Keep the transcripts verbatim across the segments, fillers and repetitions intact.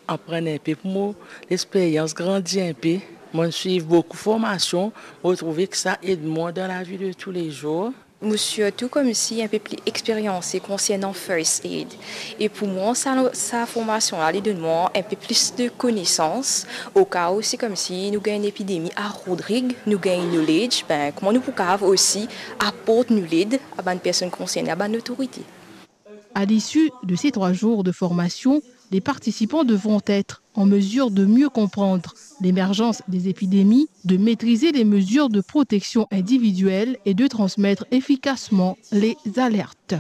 Aprann inpe pou mo lexperyans grandi inpe. Mo'nn swiv boukou formasion, mo trouve ki sa ed mwa dan lavi de toulezour. Mo sirtou koumsi inpe pli experyanse konsernan first aid. E pou mwa, sa, sa formasion la, li donn mwa inpe plis de konesans, oka ou si koumsi nou gagn enn epidemi a Rodrig, nou gagn knowledge, ben, kouma nou pou kapav osi aport nou led a bann personn konserne, a bann lotorite. À l'issue de ces trois jours de formation, les participants devront être en mesure de mieux comprendre l'émergence des épidémies, de maîtriser les mesures de protection individuelle et de transmettre efficacement les alertes.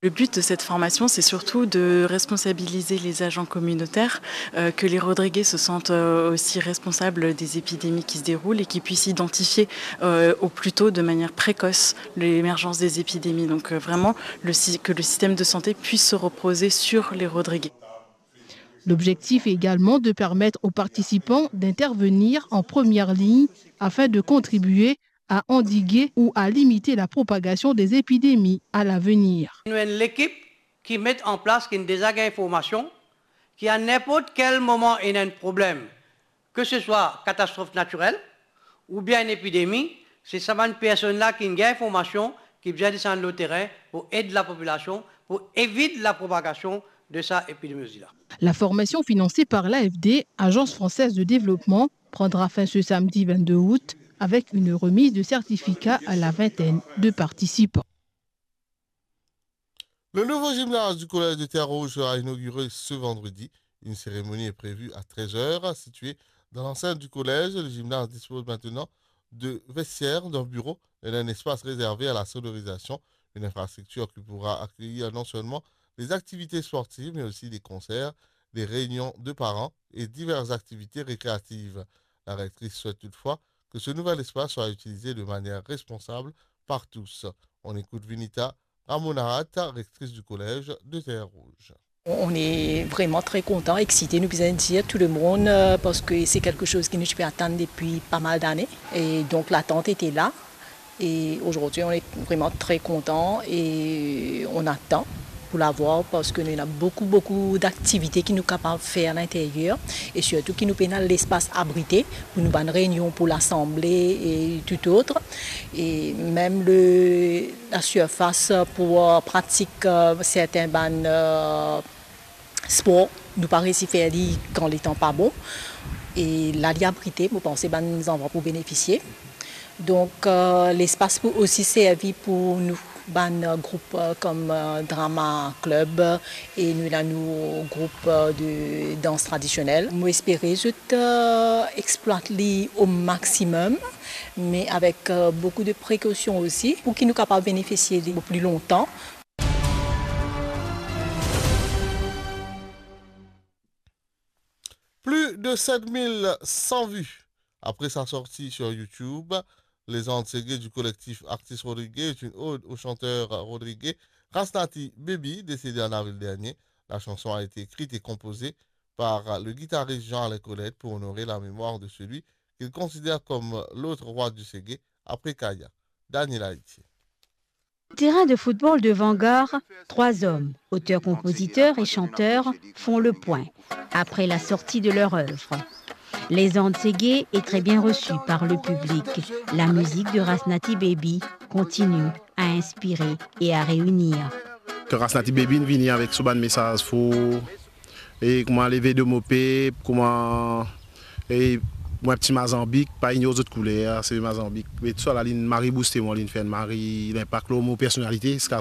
Le but de cette formation, c'est surtout de responsabiliser les agents communautaires, euh, que les Rodrigués se sentent, euh, aussi responsables des épidémies qui se déroulent et qu'ils puissent identifier, euh, au plus tôt, de manière précoce, l'émergence des épidémies. Donc, euh, vraiment, le sy-, que le système de santé puisse se reposer sur les Rodrigués. L'objectif est également de permettre aux participants d'intervenir en première ligne afin de contribuer à endiguer ou à limiter la propagation des épidémies à l'avenir. Nou enn lekip ki met an plas, ki deza gagn formasion, ki a ninport kel moman ena enn problem, ke se swa katastrof natirel oubien enn epidemi, se sa bann personn la ki gagn formasion, ki bizin desann lor terin pou ed lapopilasion, pou evit lapropagasion de sa epidemiozi la. La formation financée par l'A F D, Agence Française de Développement, prendra fin ce samedi vingt-deux août avec une remise de certificats à la vingtaine de participants. Le nouveau gymnase du collège de Terre-Rouge sera inauguré ce vendredi. Une cérémonie est prévue à treize heures, située dans l'enceinte du collège. Le gymnase dispose maintenant de vestiaires, d'un bureau et d'un espace réservé à la sonorisation. Une infrastructure qui pourra accueillir non seulement les activités sportives, mais aussi des concerts, des réunions de parents et diverses activités récréatives. La rectrice souhaite toutefois que ce nouvel espace soit utilisé de manière responsable par tous. On écoute Vinita Ramonahat, rectrice du collège de Terre-Rouge. On est vraiment très content, excité, nou bizin dir tou le mond, euh, parski se kelke soz ki nou ti pe atann depi pa mal dane. E donk, latant ete la. E azordi, on est vraiment très content e on atann pou la vwar, parski nou ena boukou, boukou daktivite ki nou kapav fer alinteryer e sirtou ki nou pena lespas abrite pou nou bann reynion, pou lasanble e tout autre. E mem le, la sirfas pou, euh, pratik, euh, sertin bann, euh, spor, nou pa resi fer li kan letan pa bon. E la li abrite, mo panse bann zanfan pou benefisie. Donk, euh, lespas pou osi servi pou nou bann, euh, group, euh, kom, euh, drama club, e nou ena nou group, euh, de dans tradisionel. Mo espere zot, euh, explwat li o maximum, me avek, euh, boukou de prekosion osi, pou ki nou kapav benefisie li pli lontan. Plus de sept mille cent vues après sa sortie sur YouTube. Les Andes Segeh du collectif Artistes Rodriguais est une ode au chanteur rodriguais Rasnaty Baby, décédé en avril dernier. La chanson a été écrite et composée par le guitariste Jean-Alain Colette pour honorer la mémoire de celui qu'il considère comme l'autre roi du segeh après Kaya. Daniel Haïti. Terrain de football de Vanguard, trois hommes, auteurs-compositeurs et chanteurs, font le point après la sortie de leur œuvre. Les Andes Segeh est très bien reçu par le public. La musique de Rasnaty Baby continue à inspirer et à réunir. Kan Rasnaty Baby vini avek so bann mesaz for, e kouma leve de mo pep, kouma, e mwa ti Mazanbik, pa ignor zot kouler, se Mazanbik. Me tousala linn mari bouste mwa, linn fer enn mari linpak lor mo personalite, ziska